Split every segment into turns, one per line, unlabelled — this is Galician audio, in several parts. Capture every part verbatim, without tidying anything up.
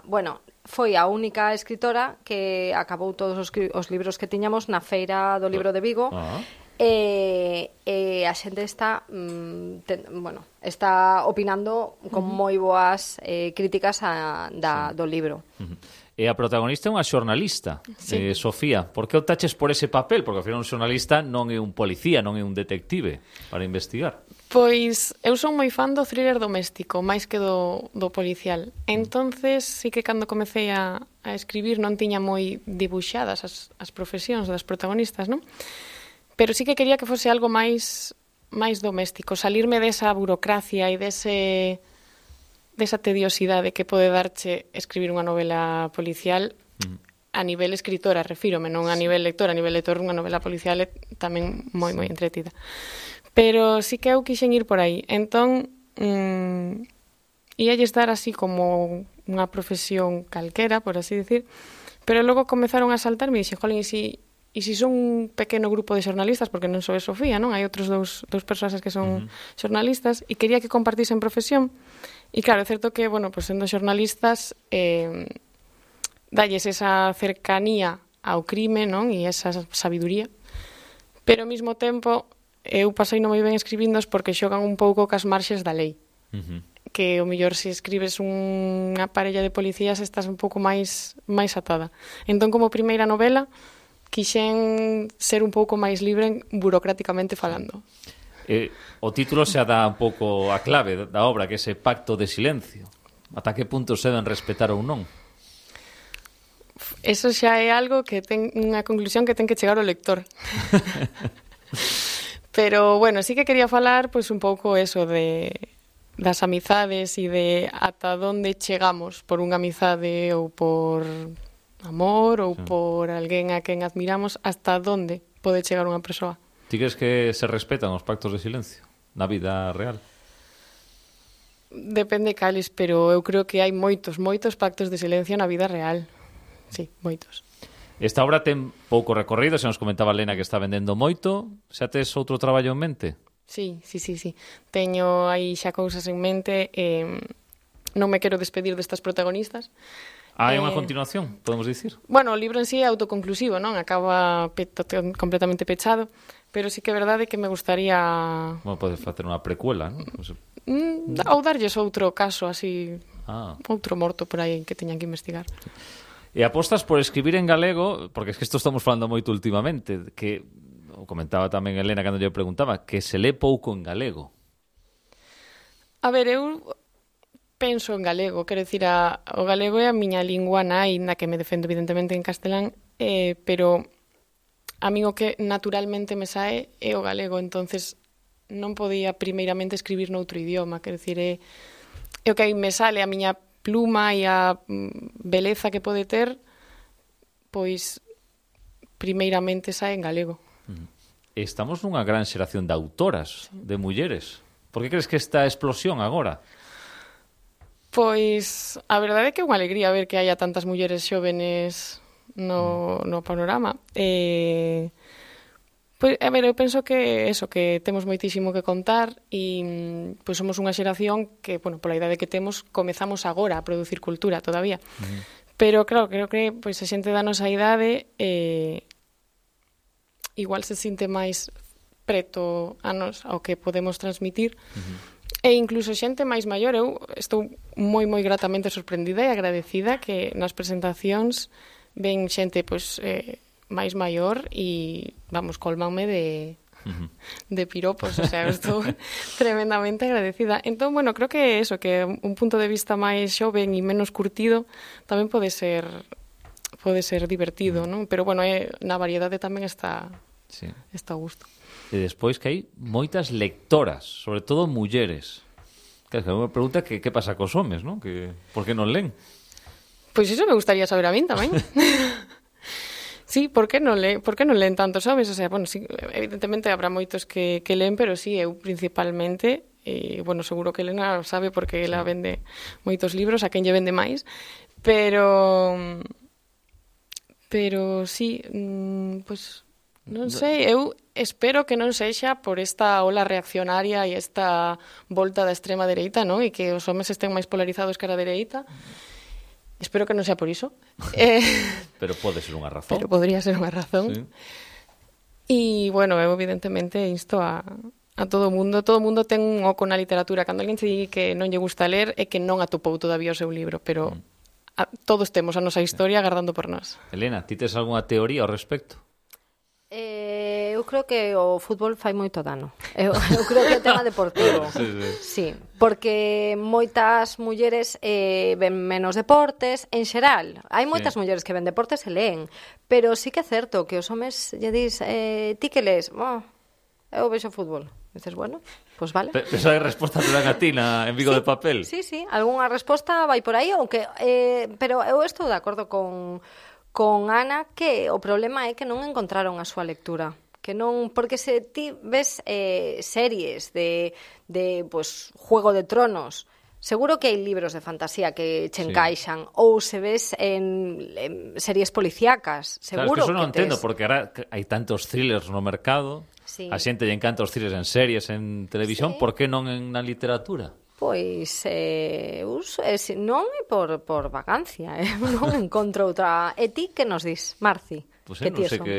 bueno, foi a única escritora que acabou todos os, os libros que tiñamos na Feira do Libro de Vigo. Ah. E, e a xente está mm, ten, bueno, está opinando con uh-huh. moi boas eh, críticas a, da, sí. do libro.
Uh-huh. E a protagonista é unha xornalista, sí. eh, Sofía. Por que optaches por ese papel? Porque ao final un xornalista non é un policía, non é un detective para investigar.
Pois eu son moi fan do thriller doméstico, máis que do, do policial. Entonces, sí que cando comecei a, a escribir non tiña moi dibuixadas as, as profesións das protagonistas, non? Pero sí que quería que fose algo máis máis doméstico, salirme desa burocracia e dese desa tediosidade que pode darche escribir unha novela policial mm. a nivel escritora, refírome, non a nivel lectora, a nivel lector unha novela policial é tamén moi moi entretida. Pero sí que eu quixen ir por aí. Entón, mmm, íalle estar así como unha profesión calquera, por así decir, pero logo comezaron a saltarme e dixen, jolín, e si E se son un pequeno grupo de xornalistas, porque non sou Sofía, non? Hai outros dous, dous persoas que son uh-huh. xornalistas, e quería que compartisen profesión. E claro, é certo que, bueno, pues sendo xornalistas, eh, dalles esa cercanía ao crime, non? E esa sabiduría. Pero ao mesmo tempo, eu pasei non moi ben escribindos porque xogan un pouco cas marxes da lei. Uh-huh. Que o mellor se escribes unha parella de policías estás un pouco máis máis atada. Entón, como primeira novela, quixen ser un pouco máis libre burocráticamente falando.
Eh, o título xa dá un pouco a clave da obra, que é ese pacto de silencio. Ata que punto se deben respetar ou non?
Eso xa é algo que ten unha conclusión que ten que chegar o lector. Pero, bueno, sí que quería falar pois un pouco eso de das amizades e de ata onde chegamos por unha amizade ou por amor ou sí. por alguén a quen admiramos, hasta onde pode chegar unha persoa.
Ti crees que se respetan os pactos de silencio na vida real?
Depende cales, pero eu creo que hai moitos, moitos pactos de silencio na vida real. Sí, moitos.
Esta obra ten pouco recorrido, se nos comentaba Lena que está vendendo moito. Xa tes outro traballo en mente?
Sí, sí, sí, sí. Teño aí xa cousas en mente. Eh, non me quero despedir destas protagonistas.
Ah, é unha continuación, podemos dicir?
Bueno, o libro en sí é autoconclusivo, non? Acaba pe- completamente pechado, pero sí que é verdade que me gustaría...
Bueno, podes facer unha precuela, non?
Mm, ou darlles outro caso, así,
ah.
outro morto por aí que teñan que investigar.
E apostas por escribir en galego, porque es que isto estamos falando moito últimamente, que, o comentaba tamén Elena cando lle preguntaba, que se lé pouco en galego.
A ver, eu... penso en galego, quero dicir, a, o galego é a miña lingua nai, na que me defendo evidentemente en castelán, eh, pero a mí o que naturalmente me sae é o galego, entonces non podía primeiramente escribir noutro idioma, quero dicir, é, é o que aí me sale, a miña pluma e a beleza que pode ter, pois primeiramente sae en galego.
Estamos nunha gran xeración de autoras, sí. de mulleres. Por que crees que esta explosión agora?
Pois a verdade é que é unha alegría ver que haya tantas mulleres xóvenes no, no panorama. Eh, pois, a ver, eu penso que eso, que temos moitísimo que contar e pois somos unha xeración que, bueno, pola idade que temos, comezamos agora a producir cultura todavía. Uh-huh. Pero, claro, creo que pois, a xente da nosa idade eh, igual se sinte máis preto a nos ao que podemos transmitir. Uh-huh. E incluso xente máis maior, eu estou moi, moi gratamente sorprendida e agradecida que nas presentacións ven xente pois, eh, máis maior e, vamos, colmanme de, uh-huh. de piropos, o sea, estou tremendamente agradecida. Entón, bueno, creo que eso, que un punto de vista máis xoven e menos curtido tamén pode ser pode ser divertido, non? Pero, bueno, eh, na variedade tamén está, sí. está a gusto.
E despois que hai moitas lectoras, sobre todo mulleres. Que é unha pregunta que que pasa cos homes, non? Que por que non len?
Pois iso me gustaría saber a min tamén. Sí, por que non len, por que non len tantos homes? O sea, bueno, sí, evidentemente habrá moitos que que len, pero sí, eu principalmente, e bueno, seguro que Elena sabe porque ela vende moitos libros, a quen lle vende máis, pero pero sí, mmm, pois non sei, eu espero que non sexa por esta ola reaccionaria e esta volta da extrema dereita, non? E que os homes estén máis polarizados que a dereita. Espero que non sea por iso. Eh,
pero pode ser unha razón.
Pero podría ser unha razón.
Sí.
E, bueno, eu evidentemente insto a, a todo o mundo. Todo o mundo ten un oco na literatura. Cando alguén se di que non lle gusta ler é que non atopou todavía o seu libro, pero mm. a, todos temos a nosa historia agardando por nós.
Elena, ti tes algunha teoría ao respecto?
Eh, eu creo que o fútbol fai moito dano. Eu, eu creo que é o tema deportivo.
Sí, sí.
Sí, porque moitas mulleres eh, ven menos deportes, en xeral. Hai moitas sí. mulleres que ven deportes e leen, pero sí que é certo que os homes lle dis, eh, ti que lees? Oh, eu vexo fútbol. E dices, bueno, pois pues vale.
Esa resposta te dan a ti na, en Vigo
sí,
de Papel?
Sí, sí, algunha resposta vai por aí, aunque, eh, pero eu estou de acordo con... con Ana que o problema é que non encontraron a súa lectura, que non, porque se ti ves eh, series de, de pues, Juego de Tronos, seguro que hai libros de fantasía que che encaixan, sí. ou se ves en, en series policíacas, seguro
claro, es que eso non
que
entendo,
tes...
porque ahora hai tantos thrillers no mercado, sí. a xente lle encanta os thrillers en series, en televisión, sí. por que non en na literatura?
Pois eh, us, eh, non é por, por vacancia, eh? non encontro outra. E ti que nos dis, Marci?
Pois pues, eh, non sei que,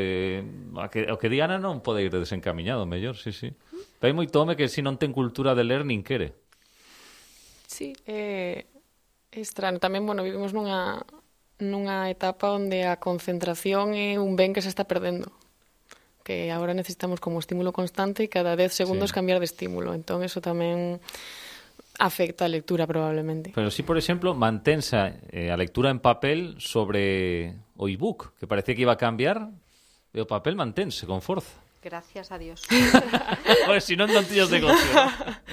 a que... O que di Ana non pode ir desencaminhado, mellor, sí, sí. Pero hai moito home que si non ten cultura de ler nin quere.
Sí, é, é estranho. Tamén, bueno, vivimos nunha, nunha etapa onde a concentración é un ben que se está perdendo. Que agora necesitamos como estímulo constante e cada dez segundos sí. cambiar de estímulo. Entón, eso tamén... afecta a lectura probablemente.
Pero si, por exemplo, mantensa eh, a lectura en papel sobre o ebook, que parecía que iba a cambiar, e o papel mantense con forza.
Gracias a Dios.
Pues si non, non tíos negocio.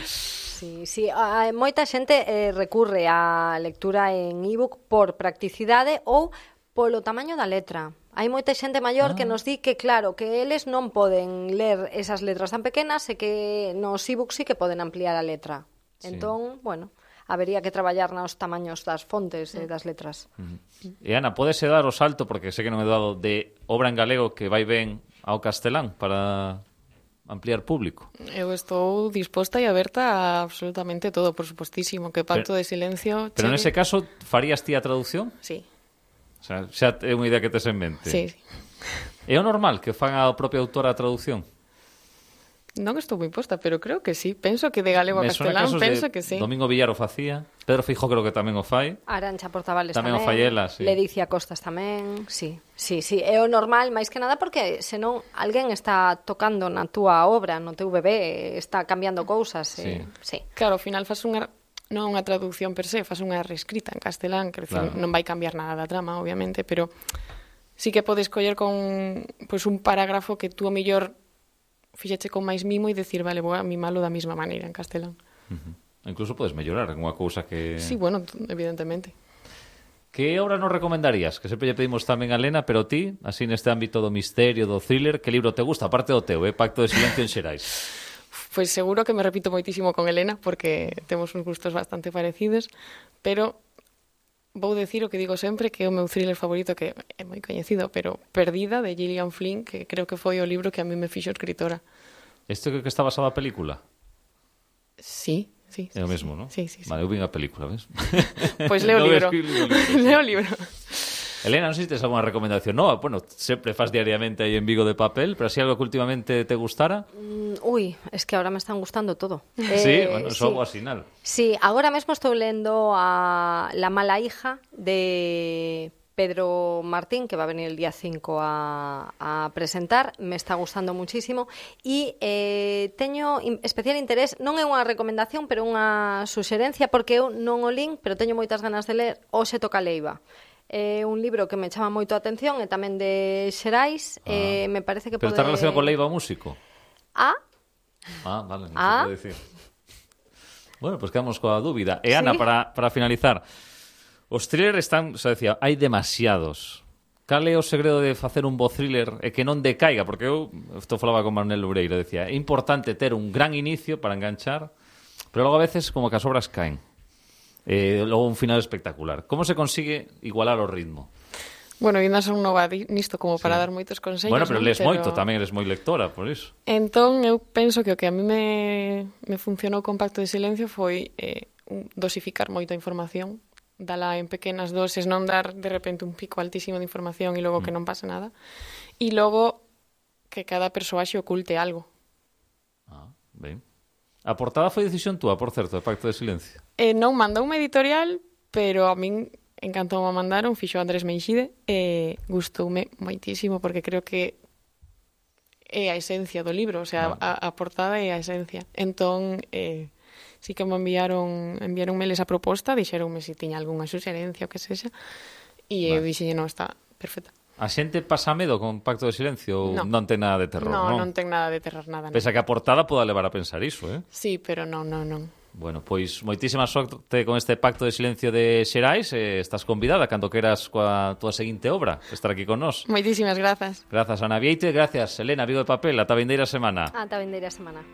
Sí, sí, a, moita xente eh, recurre á lectura en ebook por practicidade ou polo tamaño da letra. Hai moita xente maior ah. que nos di que, claro, que eles non poden ler esas letras tan pequenas e que nos ebooks sí que poden ampliar a letra. Sí. Entón, bueno, habería que traballar nos tamaños das fontes e das letras.
Uh-huh. E Ana, podese dar o salto, porque sei que non he dado, de obra en galego que vai ben ao castelán para ampliar público?
Eu estou disposta e aberta a absolutamente todo, por supostísimo, que Pacto pero, de Silencio...
Pero chegue... nese caso, farías ti a traducción?
Sí.
O sea, xa é unha idea que tes en mente.
Sí.
É o normal que fan a propia autora a traducción?
Non estou moi posta, pero creo que sí. Penso que de galego a castelán, penso que sí.
Domingo Villar o facía, Pedro Feijó creo que tamén o fai.
Arancha Portavales
tamén.
Tamén o
fai ela, sí.
Ledicia Costas tamén, sí. Sí, sí, é o normal, máis que nada porque senón alguén está tocando na túa obra, no teu bebé, está cambiando cousas. Sí. Eh, sí.
Claro, ao final faz unha non unha traducción per se, faz unha reescrita en castelán, que claro. non vai cambiar nada da trama, obviamente, pero sí que podes coller con pues, un parágrafo que tú a mellor fixeche con máis mimo e decir, vale, vou a mimalo da mesma maneira en castelán.
Uh-huh. Incluso podes mellorar unha cousa que...
Sí, bueno, evidentemente.
Que obra nos recomendarías? Que sempre lle pedimos tamén a Lena, pero ti, así neste ámbito do misterio, do thriller, que libro te gusta? Aparte do teu, eh? Pacto de Silencio en Xerais.
Pois pues seguro que me repito moitísimo con Elena, porque temos uns gustos bastante parecidos, pero... vou decir o que digo sempre, que é o meu thriller favorito, que é moi coñecido, pero Perdida, de Gillian Flynn, que creo que foi o libro que a mí me fixo escritora.
Este que está basado a película?
Sí, sí.
É o mesmo, non?
Sí, sí, sí.
Vale, eu vin a película, ves?
Pois pues leo o libro. Leo o libro.
Elena, non sei se tes alguna recomendación nova. Bueno, sempre faz diariamente aí en Vigo de Papel, pero así algo que últimamente te gustara?
Mm, uy, es que ahora me están gustando todo.
Sí,
eh,
bueno, eso sí. Algo así, ¿no?
Sí, ahora mesmo estou lendo a La mala hija de Pedro Martín, que va a venir el día cinco a, a presentar. Me está gustando muchísimo. E eh, teño especial interés, non é unha recomendación, pero unha suxerencia, porque eu non o lin, pero teño moitas ganas de ler Hoxe toca Leiva. É un libro que me chama moito a atención, e tamén de Xerais, ah. eh, me parece que
pero
pode...
Pero está relacionado con Leiva o músico?
Ah.
Ah, vale, non
ah.
se pode decir. Bueno, pues quedamos coa dúbida. E Ana, ¿sí? para, para finalizar, os thrillers están, xa decía, hai demasiados. Cal é o segredo de facer un bo thriller e que non decaiga? Porque eu, isto falaba con Manuel Loureiro, decía, é importante ter un gran inicio para enganchar, pero logo a veces como que as obras caen. Eh, logo un final espectacular. Como se consigue igualar o ritmo?
Bueno, ainda son nova nisto como para sí. dar moitos consellos.
Bueno, pero
non?
lees
pero...
moito, tamén eres moi lectora, por iso.
Entón, eu penso que o que a mí me, me funcionou con Pacto de Silencio foi eh, dosificar moito a información dala en pequenas doses, non dar de repente un pico altísimo de información e logo mm. que non pasa nada. E logo que cada persoaxe oculte algo.
Ah, ben. A portada foi decisión túa, por certo, de Pacto de Silencio?
Eh, non mandou unha editorial, pero a min encantou a mandaron, fixo Andrés Meixide, e gustoume moitísimo, porque creo que é a esencia do libro, o sea, ah. a, a portada é a esencia. Entón, eh, sí que me enviaron, enviaronme esa proposta, dixeronme se tiña algunha suxerencia ou que sexa, e vale. eu dixenlle, non, está perfecta.
A xente pasa medo con Pacto de Silencio ou no. non ten nada de terror,
no,
non?
Non, non ten nada de terror, nada.
Pese a que a portada poda levar a pensar iso, eh?
Sí, pero non, non, non.
Bueno, pois moitísima sorte con este Pacto de Silencio de Xerais, eh, estás convidada cando queras coa túa seguinte obra, estar aquí con nós.
Moitísimas grazas.
Grazas, Ana Vieite, gracias, Elena, Vigo de Papel, ata a vindeira semana.
Ata a vindeira semana.